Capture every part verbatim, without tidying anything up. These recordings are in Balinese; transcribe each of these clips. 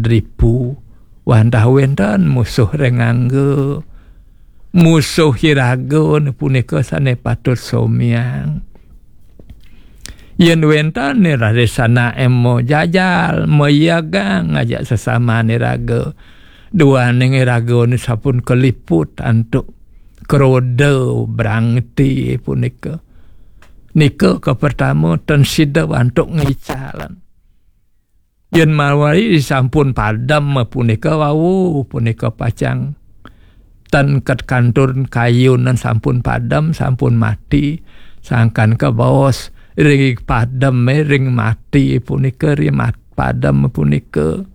Dripu, wantah wénten musuh ring angga. Musuh iraga punika sané patut somiang. Yén wénten raris anaké majajal, mayagang ajak sesaman iraga. Duaning iraga sampun kaliput antuk kroda brangti punika. Nika kapertama, ten sida antuk ngicalan. Yén malih sampun padem punika wau, punika pacang ten ket kantun kayunan sampun padem, sampun mati, sangkan kabaos ring padem, ring mati punika, ring mat-, padem punika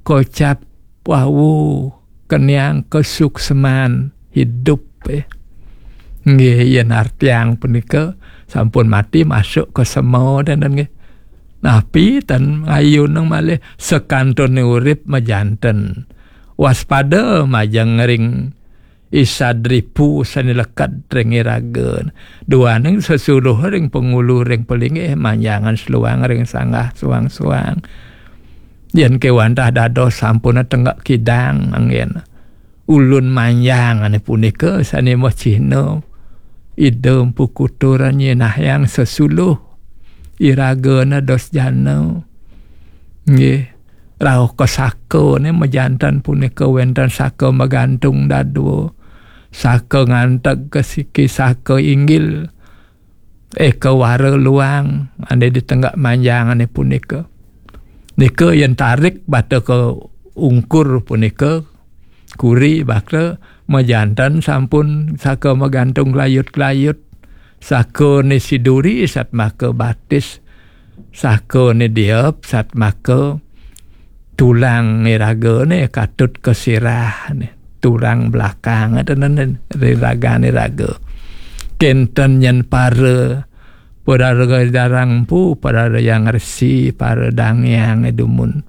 kocap wau keniang kasuksman hidup, eh. Nggih, yén artiang punika sampun mati masuk ka sema, dan, dan nggih. Napi ten ngayunang malih sakantuné urip majanten. Waspada majeng ring Isadripu sané leked ring iraga. Duaning sesuluh ring pangulu ring palinggih, manjangan seluang ring sanggah suang-suang. Yén kéwantah dados sampun tenggak kidang, anggén. Ulun manjang ané punika sané macihna Ida Mpu Kutur nyinahang sesuluh iragana dos jana. Nggih, rauh ka saka né majanten punika wénten saka magantung dadua, saka nganteg ka siki, saka inggil, eh, kawara luang ané di tenggak manjang ané punika. Nika yén tarik bata ka ungkur punika, kuri bakta majanten sampun saka magantung glayut-glayut, saka né siduri satmaka batis, saka né diep satmaka tulang iraga né katut ka sirah né, tulang belakang tenan ragané raga. Kénten nyén para, para raga darang empu, para Hyang Resi, para dangyang dumun.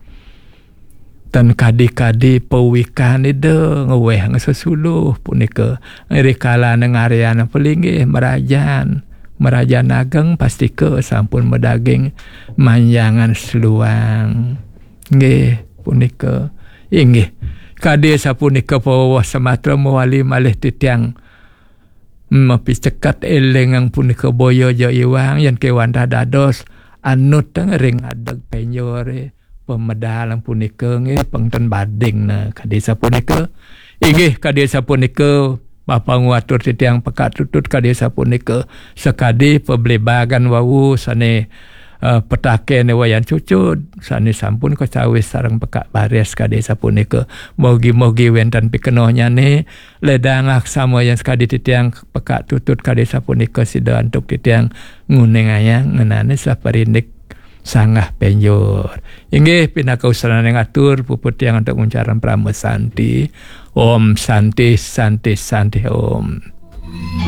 Tan kadi-kadi pawikan Ida ngwéh ngasesuluh punika. Rikala ngaryan palinggih marajan, marajan ageng pastika sampun madaging manjangan seluang. Nggih, punika. Inggih. Kadi sapunika pawewas samatra mawali malih titiang mapiceket élingang punika boya ja iwang yén kéwantah dados anut ring adeg pénjoré pamedal punika nggih pengten bading nah kadi sapunika. Inggih kadi sapunika mapanguwatur titiang Pekak Tutut kadi sapunika sakadi pablébagan wau sané eh, petakéné Wayan Cucud sané sampun kacawis sareng Pekak Baris kadi sapunika. Mogi-mogi wénten pikenohnyané ledang aksama yang sakadi titiang Pekak Tutut kadi sapunika sida antuk titiang nguningayang ngenané saparindik sanggah pénjor. Inggih pinaka usananing atur puput tiang antuk nguncarang parama santi. Om Santi, Santi, Santi Om.